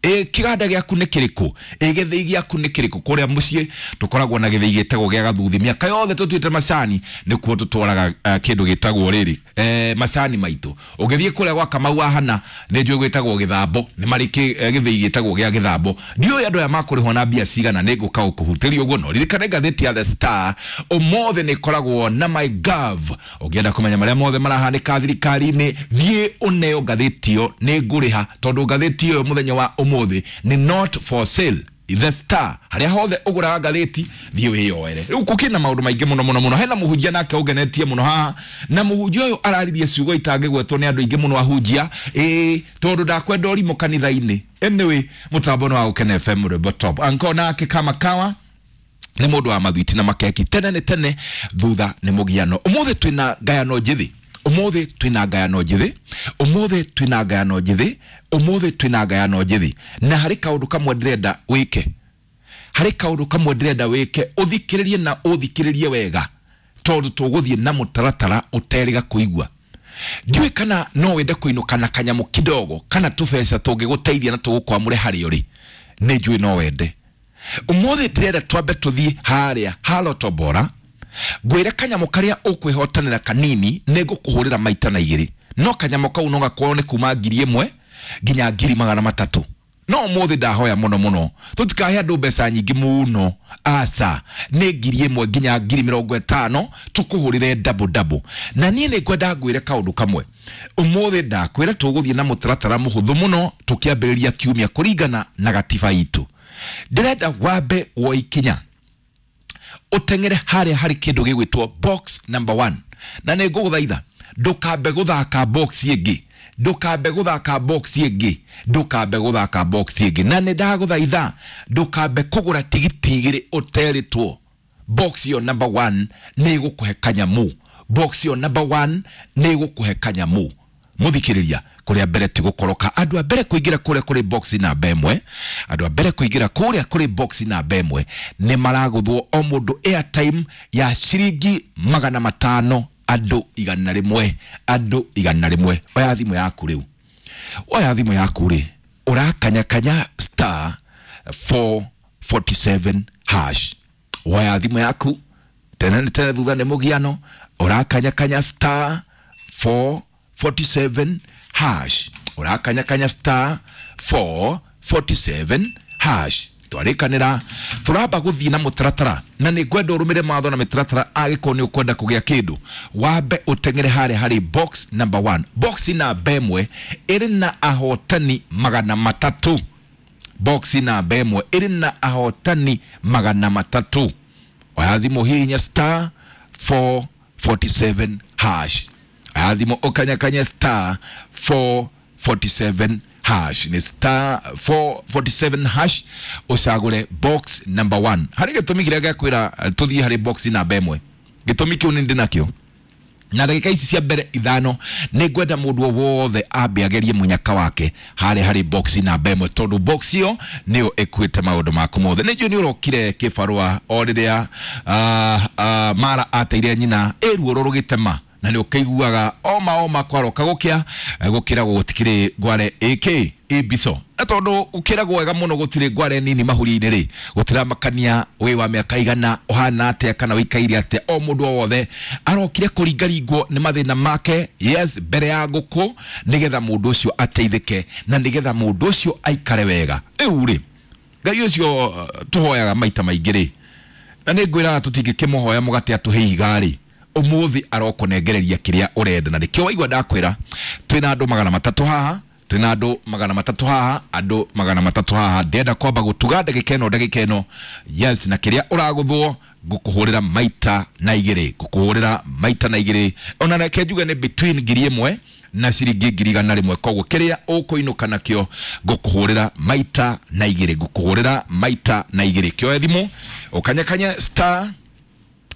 Ĩ kĩganda gĩaku nĩ kĩrĩkũ? Ĩ gĩthĩi gĩaku nĩ kĩrĩkũ? Kũrĩa mũciĩ tũkoragwo na gĩthĩi gĩtagwo gĩa Gathuthi. Mĩaka yothe tũtuĩte macani nĩkuo tũtwaraga kĩndũ gĩtagwo rĩrĩ macani maitũ. Ũngĩthiĩ kũrĩa gwa Kamau wa Hana nĩ njũĩ gwĩtagwo Gĩthambo, nĩ marĩ gĩthĩi gĩtagwo gĩa Gĩthambo. Ndiũĩ andũ aya makũrĩhwo na mbia cigana, nĩ ngũka gũkũhutĩria ũguo, no ririkane ngathĩti ya The Star ũmũthĩ nĩ ĩkoragwo na MyGov. Ũngĩenda kũmenya marĩa mothe marahanĩka thirikari-inĩ, thiĩ ũneo ngathĩti ĩyo, nĩ ngũrĩha tondũ ngathĩti ĩyo mũthenya wa ũmũthĩ nĩ not for sale. The Star, harĩa hothe ũgũraga ngathĩti, thiĩ wĩyoere. Rĩu gũkĩna maũndũ maingĩ mũno mũno mũno. Hena mũhunjia nake ũngenetie mũno haha, na mũhunjia ũyũ araririe ciugo itangĩgwetwo nĩ andũ aingĩ mũno ahunjia, ĩĩ tondũ ndakwenda ũrimũ kanitha-inĩ. Anyway, mũtambo nĩ wa Gũkena FM rwĩmbo top. Anko nake kama kawa nĩ mũndũ wa mathwiti na makeki, tene nĩ tene, thutha nĩ mũgiano. Ũmũthĩ twĩna ngayano njĩthĩ, ũmũthĩ twĩna ngayano njĩthĩ, ũmũthĩ twĩna ngayano njĩthĩ, ũmũthĩ twĩna ngayano njĩthĩ. Na harĩ kaũndũ kamwe ndĩrenda wĩke, harĩ kaũndũ kamwe ndĩrenda wĩke, ũthikĩrĩrie na ũthikĩrĩrie wega, tondũ tũgũthiĩ na mũtaratara ũterĩga kũigua. Ndiũĩ kana no wende kũinũka na kanyamũ kidogo kana tũbeca tũngĩgũteithia na tũgũkwamũre harĩa ũrĩ. Nĩ njũĩ no wende. Ũmũthĩ ndĩrenda twambe tũthiĩ harĩa ha Lotto Bora, ngwĩre kanyamũ karĩa ũkwĩhotanĩra kanini nĩ ngũkũhũrĩra maita na igĩrĩ, no kanyamũ kau no gakorwo nĩ kuma 1,000 nginya 300,000. No ũmũthĩ ndahoya mũno mũno tũtikahe andũ mbeca nyingĩ mũno, aca, nĩ 1,000 nginya 50,000 tũkũhũrĩre double double. Na niĩ nĩ ngwenda ngwĩre kaũndũ kamwe ũmũthĩ, ndakwĩra tũgũthiĩ na mũtaratara mũhũthũ mũno tũkĩambĩrĩria kiumia kũringana na gatiba itũ. Ndĩrenda wambe woe ikinya ũteng'ere harĩa harĩ kĩndũ gĩgwĩtwo box number 1, na nĩ ngũgũthaitha ndũkambe gũthaka box ĩngĩ, ndũkambe gũthaka box ĩngĩ, ndũkambe gũthaka box ĩngĩ. Na nĩ ndagũthaitha ndũkambe kũgũra tigiti igĩrĩ ũterĩtwo. Box ĩyo number 1 nĩ ĩgũkũhe kanyamũ, box ĩyo number 1 nĩ ĩgũkũhe kanyamũ. Mũthikĩrĩria, kũrĩa mbere ti gũkoroka. Andũ a mbere kũingĩra kũrĩa kũrĩ box namba 1, andũ a mbere kũingĩra kũrĩa kũrĩ box namba 1 nĩ maragũthwo o mũndũ airtime ya ciringi 500, andũ 100, andũ 100. Oya thimũ yaku rĩu, oya thimũ yaku rĩ, ũrakanyakanya star 447 hash. Woya thimũ yaku, tene nĩ tene, thutha nĩ mũgiano. Ũrakanyakanya star 447 hash, ũrakanyakanya star 447 hash. Twarĩkanĩra tũramba gũthiĩ na mũtaratara, na nĩ ngwenda ũrũmĩre mawatho na mĩtaratara. Angĩkorwo nĩ ũkwenda kũgĩa kĩndũ, wambe ũteng'ere harĩa harĩ box number 1. Box namba 1 ĩrĩ na ahotani 300. Box namba 1 ĩrĩ na ahotani 300. Oya thimũ, hihinya star 447 hash. Oya thimũ, ũkanyakanya star 447 hash, nĩ star 447 hash, ũcagũre box number 1. Harĩ gĩtũmi kĩrĩa gĩakwĩra tũthiĩ harĩ box namba 1. Gĩtũmi kĩu nĩ ndĩ nakĩo, na ndagĩka ici cia mbere 5 nĩ ngwenda mũndũ o wothe ambe agerie mũnyaka wake harĩa harĩ box namba 1, tondũ box ĩyo nĩyo ĩkuĩte maũndũ maku mothe. Nĩ njũĩ nĩ ũrokire kĩbarũa o rĩrĩa mara ateire nyina ĩruo rũgĩtema, na nĩ ũkĩiguaga oma oma kwaroka gũkĩa gũkĩragwo gũtikĩrĩ ngware ĩkĩ ĩmbico, na tondũ ũkĩragwo wega mũno gũtirĩ ngware nini mahuri-inĩ rĩ, gũtiramakania wĩ wa mĩaka igana, ũhana atĩa kana ũikaire atĩa, o mũndũ o wothe arokire kũringaringwo nĩ mathĩna make, yes, mbere ya ngũkũ, nĩgetha mũndũ ũcio ateithĩke na nĩgetha mũndũ ũcio aikare wega. Rĩu rĩ, Ngai ũcio tũhoyaga maita maingĩ rĩ, na nĩ ngwĩraga tũtingĩkĩmũhoya mũgate atũhe ihiga rĩ, ũmũthĩ arokũnengereria kĩrĩa ũrenda. Na nĩkĩo waigua ndakwĩra twĩna andũ 300 haha, twĩna andũ 300 haha, andũ 300 haha. Ndĩrenda kwamba gũtuga ndagĩka ĩno, ndagĩka ĩno, yes, na kĩrĩa ũragũthwo ngũkũhũrĩra maita na igĩrĩ, ngũkũhũrĩra maita na igĩrĩ. Ona reke njuge nĩ between 1,000 na ciringi 100,000. Koguo kĩrĩa ũkũinũka nakĩo ngũkũhũrĩra maita na igĩrĩ, ngũkũhũrĩra maita na igĩrĩ. Kĩoe thimũ, ũkanyakanya star,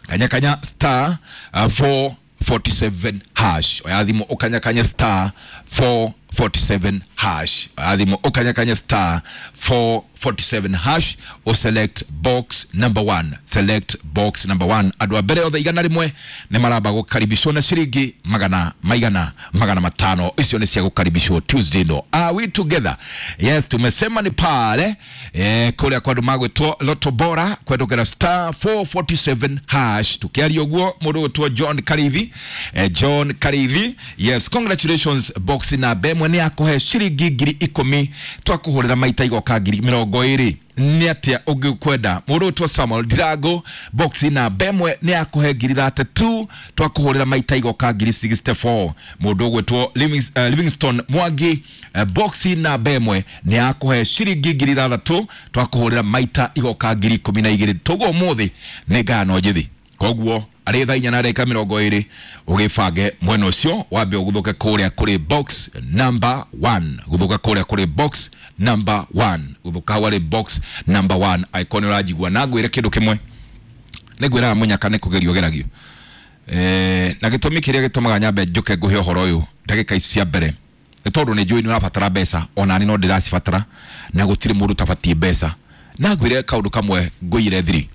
kanyakanya star 447 hash. Oya thimũ, ũkanyakanya star 447 hash. Oya thimũ, ũkanyakanya star 4 447 hash o select box number 1, select box number 1. Andũ a mbere othe 100 nĩ maramba gũkaribishwo na ciringi magana maigana 500. Icio nĩ cia gũkaribishwo Tuesday no. Are we together? Yes, tumesema ni pale kũrĩa kwa andũ magwĩtwo Lotto Bora kwendũkĩra star 447 hash. Tukiaria ũguo mũndũ gwĩtwo John Karithi, John Karithi, yes, congratulations. Box namba ĩmwe nĩ yakũhe ciringi 10,000, twakũhũrĩra maita igoka 20,000. Nĩ atĩa ũngĩkwenda? Mũndũ ũtwo Samuel Ndirango, box namba ĩmwe nĩ yakũhe 32,000, twakũhũrĩra maita igoka 64,000. Mũndũ ũgwĩtwo Livingstone Mwangi, box namba ĩmwe nĩ yakũhe ciringi 6,000, twakũhũrĩra maita igoka 12,000. Toguo ũmũthĩ nĩ ngano njĩthĩ, koguo arĩ thaa inya na ndagĩka 20 ũgĩbange mwena ũcio wambe ũgũthũke kũrĩa kũrĩ box number 1, gũthũka kũrĩa kũrĩ box number 1, gũthũka hau harĩ box number 1. Angĩkorwo nĩ ũranjigua na ngwĩre kĩndũ kĩmwe, nĩ ngwĩraga mũnyaka nĩ kũgerio geragio, na gĩtũmi kĩrĩa gĩtũmaga nyambe njũke ngũhe ũhoro ũyũ ndagĩka ici cia mbere nĩ tondũ nĩ njũĩ nĩ ũrabatara mbeca, ona niĩ no ndĩracibatara, na gũtirĩ mũndũ ũtabatiĩ mbeca. Na ngwĩre kaũndũ kamwe ngũire thiri,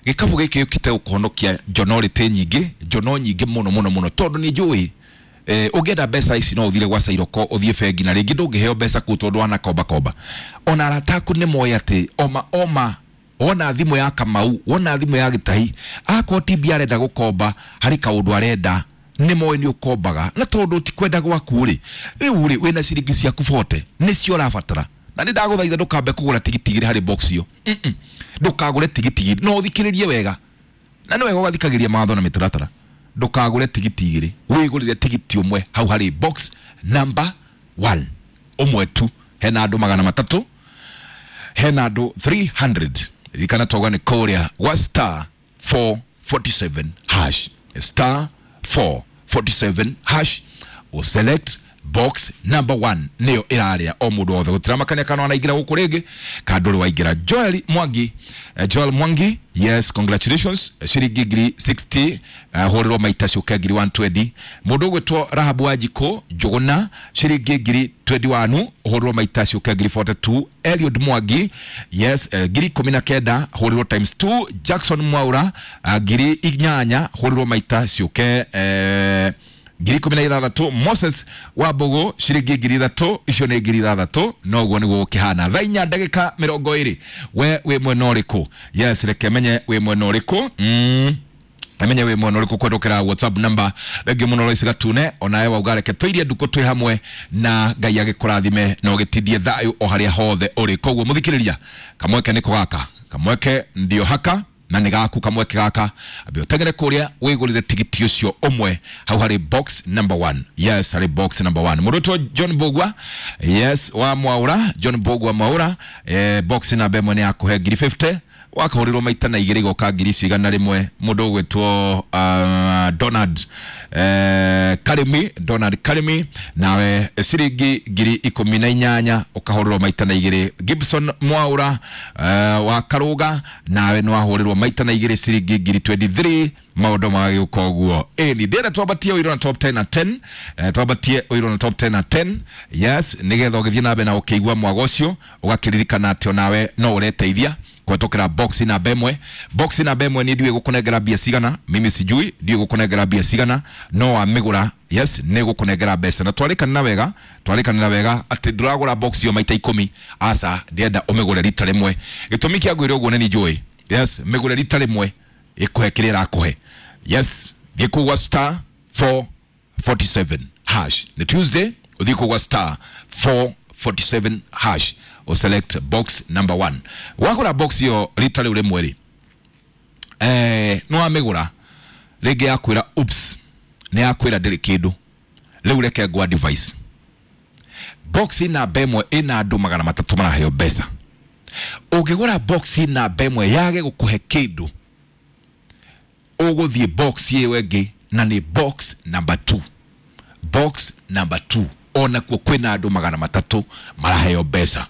gĩkabu gĩkĩ gĩũkĩte gũkũhonokia njonorĩtĩ nyingĩ, njono nyingĩ mũno mũno mũno, tondũ nĩ njũĩ ũngĩenda mbeca ici no ũthire gwa Cairoko, ũthiĩ bengi, na rĩngĩ ndũngĩheo mbeca kũu tondũ wana komba komba. Ona arata aku nĩ moĩ atĩ oma oma wona thimũ ya Kamau, wona thimũ ya Gĩtahi, akorwo ti mbia arenda gũkomba, harĩ kaũndũ arenda, nĩ moĩ nĩ ũkombaga, na tondũ ti kwenda gwaku rĩ, rĩu rĩ wĩna ciringi ciaku 40 nĩcio ũrabatara. Na nĩ ndagũthaitha ndũkambe kũgũra tigiti igĩrĩ harĩ box ĩyo, ndũkagũre tigiti igĩrĩ, no ũthikĩrĩrie wega, na nĩ wega ũgathikagĩria mawatho na mĩtaratara. Ndũkagũre tigiti igĩrĩ, wĩgũrĩre tigiti ũmwe hau harĩ box number 1, ũmwe tu. Hena andũ 300, hena andũ 300. Ririkana twauga nĩ kũrĩa gwa star 447 hash, star 447 hash, o select box number 1 nĩyo ĩrarĩa o mũndũ wothe, gũtiramakania kana wanaingĩra gũkũ rĩngĩ kana ndũrĩ waingĩra. Joel Mwangi, Joel Mwangi, yes, congratulations, ciringi 60,000, hũrĩrwo maita ciũke 120,000. Mũndũ ũgwĩtwo Rahabu Wanjikũ Njũgũna, ciringi 21,000, hũrĩrwo maita ciũke 42,000. Eliud Mwangi, yes, 19,000, hũrĩrwo times 2. Jackson Mwaura, 8,000, hũrĩrwo maita ciũke 16,000. Moses Wambugu ciringi 3,000, icio nĩ 3,000. Noguo nĩguo gũkĩhana. Thaa inya ndagĩka 20, we wĩ mwena ũrĩkũ? Yes, reke menye wĩ mwena ũrĩkũ. Amenye wĩ mwena ũrĩkũ kwendũkĩra WhatsApp number. Thengiũ mũno Lois Gatune, onawe wauga reke tũirie ndukũ twĩ hamwe, na Ngai agĩkũrathime na ũgĩtindie thayũ o harĩa hothe ũrĩ. Koguo mũthikĩrĩria, kamweke nĩko gaka, kamweke ndio haka na nĩ gaku kamweke gaka, ambe ũteng'ere kũrĩa wĩgũrĩre tigiti ũcio ũmwe hau harĩ box number 1. Yes, harĩ box number 1. Mũndũ ũtwo John Mbugua, yes, wa Mwaura, John Mbugua Mwaura, box namba ĩmwe nĩ yakũhe 50,000, wakahũrĩrwo maita na igĩrĩ igoka 100,000. Mũndũ ũgwĩtwo Donald Karimi, Donald Karimi, nawe ciringi 18,000 ũkahũrĩrwo maita na igĩrĩ. Gibson Mwaura, wa Karuga, nawe nĩ wahũrĩrwo maita na igĩrĩ ciringi 23,000. Maũndũ magagĩũka ũguo. Ĩni ndĩrenda twambatie ũiro na top 10 na 10, twambatie ũiro na top 10 na 10, yes, nĩgetha ũgĩthiĩ na mbere na ũkĩigua mwago ũcio ũgakĩririkana atĩ onawe no ũreteithia kũhetũkĩra box namba ĩmwe. Box namba ĩmwe niĩ ndiũĩ gũkũnengera mbia cigana, mimi sijui ndiũĩ gũkũnengera mbia cigana, no wamĩgũra, yes, nĩ gũkũnengera mbeca. Na twarĩkanĩra wega, twarĩkanĩra wega atĩ ndũragũra box ĩyo maita 10, aca, ndĩrenda ũmĩgũre rita rĩmwe. Gĩtũmi kĩa ngwĩre ũguo nĩ niĩ njũĩ, yes, mĩgũre rita rĩmwe ĩkũhe kĩrĩa ĩrakũhe. Yes, thiĩ kũu gwa star 447 hash. Nĩ Tuesday, ũthiĩ kũu gwa star 447 hash, o select box number 1. Wagũra box ĩyo rita rĩu rĩmwe rĩ, nĩ wamĩgũra rĩngĩ yakwĩra oops, nĩ yakwĩra ndĩrĩ kĩndũ, rĩu reke ngwa device. Box namba ĩmwe ĩna andũ 300 maraheo mbeca. Ũngĩgũra box namba ĩmwe yage gũkũhe kĩndũ, ũgũthiĩ box ĩyo ĩngĩ, na nĩ box number 2. Box number 2 onakuo kwĩna andũ 300 maraheo mbeca.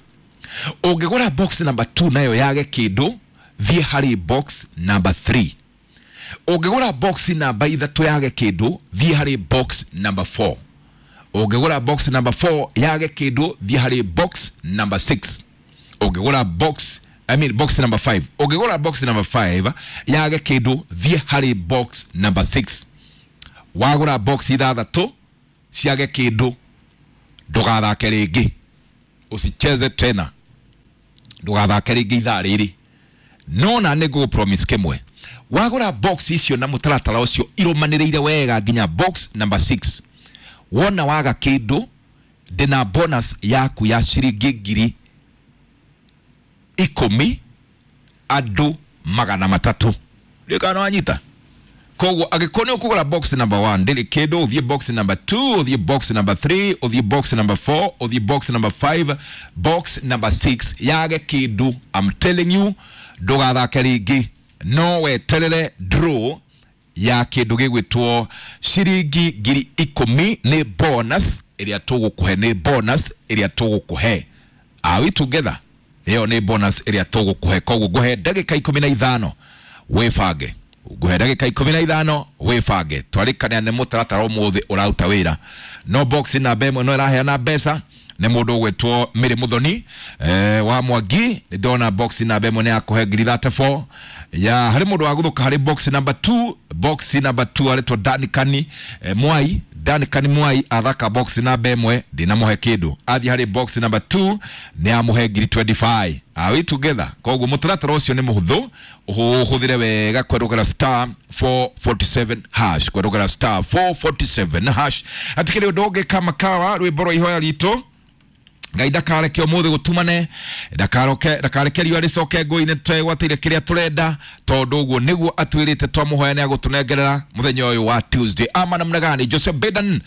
Ũngĩgũra box number 2 nayo yage kĩndũ, thiĩ harĩ box number 3. Ũngĩgũra box namba 3 yage kĩndũ, thiĩ harĩ box number 4. Ũngĩgũra box number 4 yage kĩndũ, thiĩ harĩ box number 6. Ũngĩgũra box, I mean box number 5, ũngĩgũra box number 5 yage kĩndũ, thiĩ harĩ box number 6. Wagũra box ithathatũ ciage kĩndũ, ndũgathake rĩngĩ, usicheze tena, ndũgathake rĩngĩ ithaa rĩrĩ. No na nĩ ngũgũ promise kĩmwe, wagũra box icio na mũtaratara ũcio irũmanĩrĩire wega nginya box number 6, wona waga kĩndũ, ndĩna bonus yaku ya ciringi 10,000 andũ 300. Ndiũĩ kana nĩwanyita. Koguo angĩkorwo nĩ ũkũgũra box number 1 ndĩrĩ kĩndũ, ũthiĩ box number 2, ũthiĩ box number 3, ũthiĩ box number 4, ũthiĩ box number 5, box number 6 yage kĩndũ, I'm telling you, ndũgathake rĩngĩ, no weterere draw ya kĩndũ gĩgwĩtwo ciringi 10,000. Nĩ bonus ĩrĩa tũgũkũhe, nĩ bonus ĩrĩa tũgũkũhe. Are we together? Ĩyo nĩ bonus ĩrĩa tũgũkũhe. Koguo ngũhe ndagĩka 15 wĩbange, ngũhe ndagĩka 15 wĩbange. Twarĩkania nĩ mũtaratara ũmũthĩ ũraruta wĩra, no box namba 1 no ĩraheana mbeca. Nĩ mũndũ ũgwĩtwo Mĩrĩ Mũthoni wa Mwangi, nĩ ndona box namba 1 nĩ yakũhe 34,000. Ya harĩ mũndũ wa gũthũka harĩ box number 2, box number 2 arĩtwo Danikani Mwai. Danikani Mwai athaka box namba 1 ndinamũhe kĩndũ, athiĩ harĩ box number 2 nĩ amũhe 25,000. Are we together? Koguo mũtaratara ũcio nĩ mũhũthũ, ũhũthĩre wega kwerũgera star 447 hash, kwerũgera star 447 hash. Hatikĩrĩ ũndũ ũngĩ kama kawa rwĩmbo rwa ihoya ritũ. Ngai ndakareke ũmũthĩ gũtumane, ndakareke riũa rĩcoke ngũi-inĩ, twegwatĩire kĩrĩa tũrenda, tondũ ũguo nĩguo atwĩrĩte twamũhoya nĩ agũtũnengerera mũthenya ũyũ wa Tuesday. Ama namna gani? Joseph Bedan,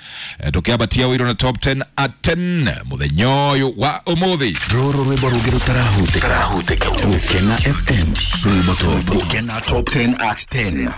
tũkĩambatia ũiro na top 10 at 10 mũthenya ũyũ wa ũmũthĩ. Rũrũ rwĩmbo rũngĩ rũtarahutĩka. Gũkena FM, rwĩmbo top. Gũkena top 10 at 10.